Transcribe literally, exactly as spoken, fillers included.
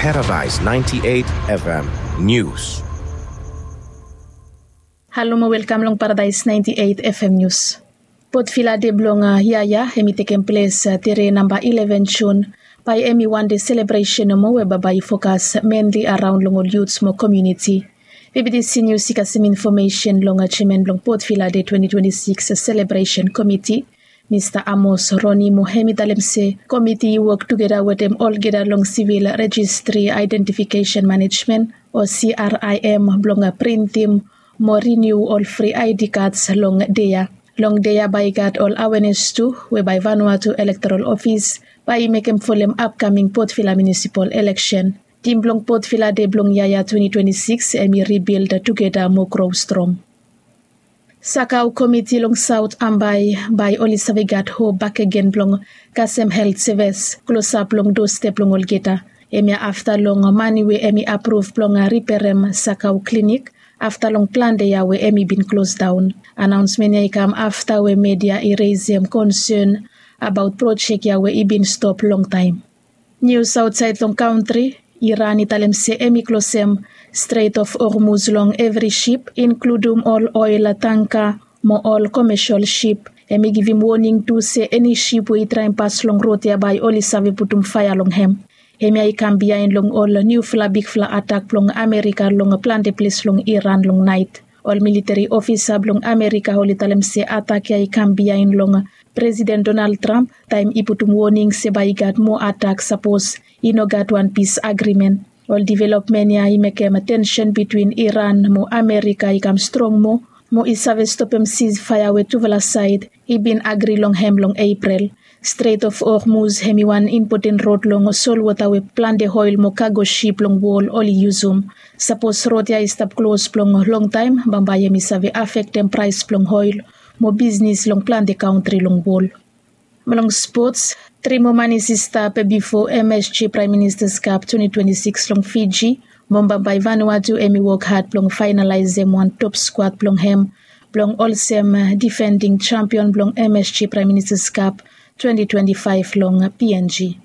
Paradise ninety-eight F M News. Halo mo welkam long Paradise ninety-eight F M News. Potvila de blong yaya hem i tekem ples tere namba eleven Jun. Bae hem i wan de selebresen nomo we bambae i fokas menli araon long ol yuts mo komiuniti. Bibitisi Nius i kasem infomesen long jeaman blong Potvila de twenti twenti sikis selebresen komiti, Mista Amos Roni, mo hem i talem se komiti i wok tugeta wetem olgeta long sivil rejistri aedentifikesen manejmen o C R I M blong printim mo riniu ol fri I D kats long dea. Long dea bae i gat ol awenes tu we bae Vanuatu Elektoral Ofis bae i mekem folem apkaming Potvila miunisipal eleksen. Tim blong Potvila de blong yaya twenti twenti sikis hem i ribild tugeta mo gro strong. Sakau komiti long Saot Ambae bae oli save gat hop bakegen blong kasem helt sevis klosap long dostep blong olgeta. Hemia afta long mane we hem i apruv blong riperem Sakau klinik afta long plante yia we hem i bin klosdaon. Anaonsmen ya i kam afta we media i resem konsen abaot projek ya we i bin stop longtaem. Nius aotsaed long kantri, Iran i talem se hem i klosem Strait of Hormuz long evri sip, inkludum ol oel tangka mo ol komesol sip. Hem i givim woning tu se eni sip we i traem pas long rod ya bae oli save putum faea long hem. Hemia i kam biaen long ol niufala bigfala atak blong Amerika long plante ples long Iran long naet. Ol militeri ofisa blong Amerika oli talem se atak ya i kam biaen long Presiden Donald Trump taem i putum woning se bae i gat moa atak sapos i no gat wan pis agrimen. Ol developmen ya i mekem tensen bitwin Iran mo Amerika i kam strong moa, mo i save stopem sisfaea we tufala saed i bin agri long hem long Eprel. Strait of Hormuz hem i wan impoten rod long solwota we plante oel mo kago sip long wol oli yusum. Sapos rod ya i stap klos blong longtaem, bambae hem i save afektem praes blong oel mo bisnis long plante kantri long wol. Blong spots, tri moa manis i stap bifo M S G Praem Ministas Kap twenti twenti sikis long Fiji. Mo bambae Vanuatu hem i wok had blong faenalaesem wan top skwad blong hem blong olsem difending jampion blong M S G Praem Ministas Kap twenti twenti faef long P N G.